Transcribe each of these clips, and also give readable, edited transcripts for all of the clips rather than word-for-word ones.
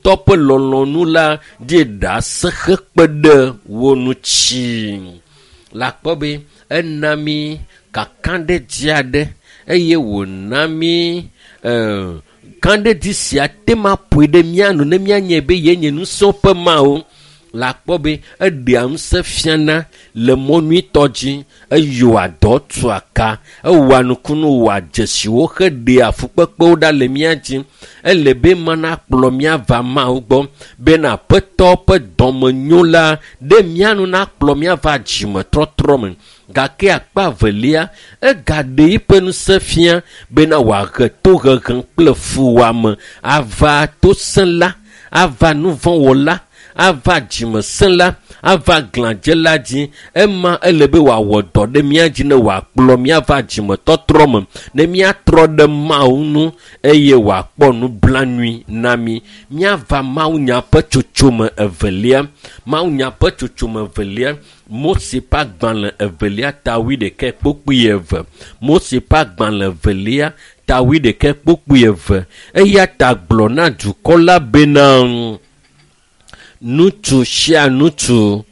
Tɔ ƒe lɔlɔ̃nu la ɖi ɖase hekpe ɖe wo ŋuti. Le akpɔ be ena mí kakaɖedzi aɖe eye wòna mí kaɖedzi sia te ma ƒoe ɖe mía nu ne míanye be yenye ŋusẽ ƒe Mawu. Le akpɔ be eɖea ŋusẽ fiana le mɔ nyuitɔ dzi, eyɔa dɔ tua ka, ewɔa nukunu wɔa dzesiwo heɖea fukpekpewo ɖa le mía dzi. Ele be mana kplɔ mía va Mawu gbɔ bena Aƒetɔ ƒe dɔmenyo la ɖe mía nu nakplɔ mía va dzimetɔtrɔ me. Gake akpa evelia, egaɖe eƒe ŋusẽ fia bena wòahe tohehe kple fuwɔame ava tosẽla, ava nuvɔ̃wɔla, ava dzimesẽla, ava glãdzela dzi. Ema ele be wòawɔ dɔ ɖe mía dzi ne wòakplɔ mía va dzimetɔtrɔ me, ne míatrɔ ɖe Mawu ŋu eye wòakpɔ nublanui na mí. Míava Mawunya ƒe tsotsome evelia. Mawunya ƒe tsotsome evelia, Mose ƒe agbalẽ evelia ta wuiɖekɛ kpokpui eve. Mose ƒe agbalẽ evelia ta wuiɖekɛ kpokpui eve. Eya ta gblɔ na dukɔ la bena ŋutsu sia ŋutsu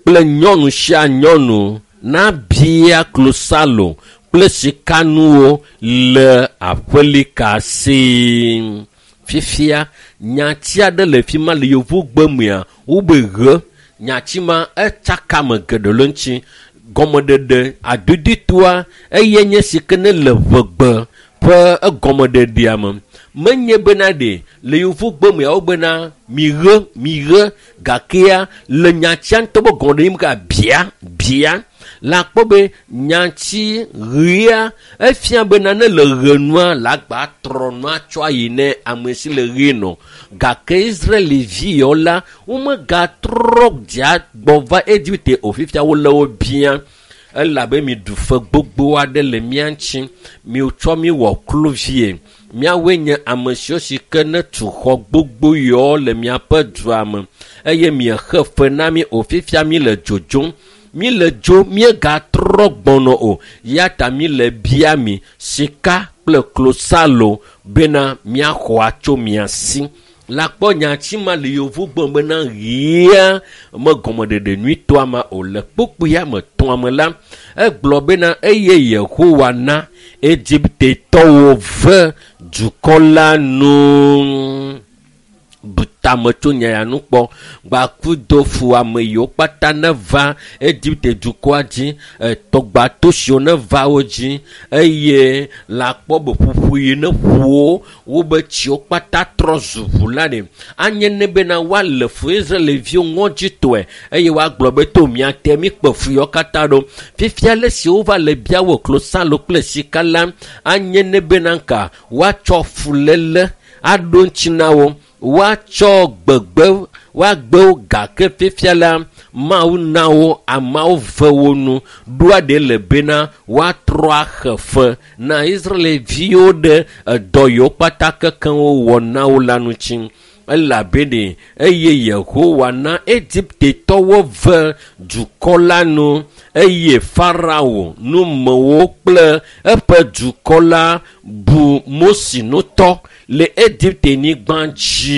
kple nyɔnu sia nyɔnu nabia klosalo kple sikanuwo le aƒelika si. Fifia, nyati aɖe le fi ma le yevugbe mea, wobe ʋe. Nyati ma etsaka ame geɖe le eŋuti. Gɔmeɖeɖe adodoetoa eye nye si ke ne le ʋegbe ƒe egɔmeɖeɖea me. Menye bena ɖe le yevugbe mea wobena miʋe miʋe gakea le nyatia ŋutɔ be gɔmeɖeɖe me ka bia bia. Le akpɔ be nyati ʋea efia bena ne le ʋe nua le agba trɔ nua tsɔ ayi ne ame si le ʋe nɔ. Gake Israelivi yawo la womegatrɔ dzia gbɔ va Egipte o fifia wole wo bia elabe mi ɖu fe gbogbo aɖe le mía ŋuti. Mitsɔ mi wɔ kluvie. Míawoe nye ame siwo si ke ne tu xɔ gbogbo yawo le miaƒe dua me eye miexe fe na mí o fifia mi le dzodzom. Mi le dzo míegatrɔ gbɔnɔ o ya ta mi le bia mi sika kple klosalo bena míaxɔ atso mia si. Le akpɔ nyati ma le yevugbe bena ɣia me gɔmeɖeɖe nyuitɔa ma o le kpukpuia me tɔa me la egblɔ bena eye Yehowa na Egiptetɔwo ve dukɔ la nu. Bu tame tso nya ya nu kpɔ. Gbakudo fu ame yiwo kpata ne va Egipte dukɔa dzi, etɔgbato siwo ne va wo dzi eye le akpɔ be ƒuƒu yi ne ƒu wo, wobe tsiwo kpata trɔ zu ʋu la ɖe. Anye ne bena woalé fu Israeliviwo ŋɔdzitɔe eye woagblɔ be to mía te míkpe fu yawo katã ɖo. Fifia le si wova le bia wo klosalo kple sika la, anye ne bena ka woatsɔ fuléle aɖo ŋuti na wo. Woatsɔ gbegbe woagbe wo gake fifia la Mawu na wo ameawo ve wo nu ɖoa ɖe le bena woatrɔ axe fe na Israeliviwo ɖe edɔ yiwo kpata kekeŋ wowɔ na wo la ŋuti. Elabe ɖe eye Yehowa na Egiptetɔwo ve dukɔ la nu eye Farao numewo kple eƒe dukɔ la bu Mose ŋutɔ le Egipte-nyigba dzi.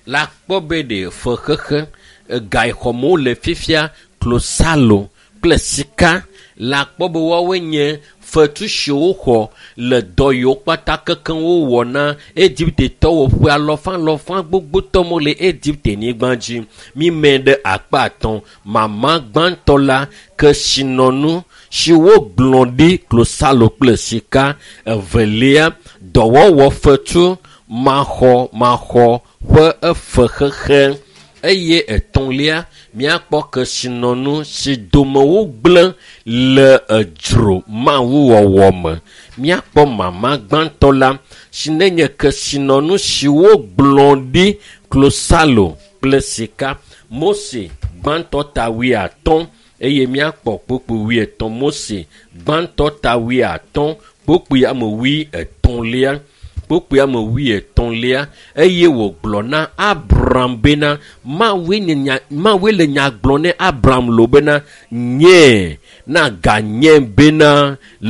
Le akpɔ be ɖe fexexe gaxɔmewo le fifia klosalo kple sika. Le akpɔ be woawoe nye fetu siwo woxɔ le dɔ yiwo kpata kekeŋ wowɔ na Egiptetɔwo ƒe alɔfa alɔfa gbogbotɔ mo le Egipte-nyigba dzi. Mímɛ ɖe akpa atɔ̃. Mama gbãtɔ la kesinɔnu si wogblɔ ɖi klosalo kple sika. Evelia dɔwɔwɔ fetu maxɔmaxɔ ƒe efexexe eye etɔ̃lia míakpɔ kesinɔnu si dome wogblẽ le edzro mawuwɔwɔ me. Míakpɔ mama gbãtɔ la si nenye kesinɔnu si wogblɔ ɖi klosalo kple sika. Mose gbãtɔ ta wuiatɔ̃ eye míakpɔ kpukpui wuietɔ̃. Mose gbãtɔ ta wuiatɔ̃ kpukpui ame wuietɔ̃lia. Kpukpui ame wuietɔ̃lia eye wògblɔ na Abram bena Mawue nye nya Mawue le nya gblɔ ne Abram lo bena nye na ganye bena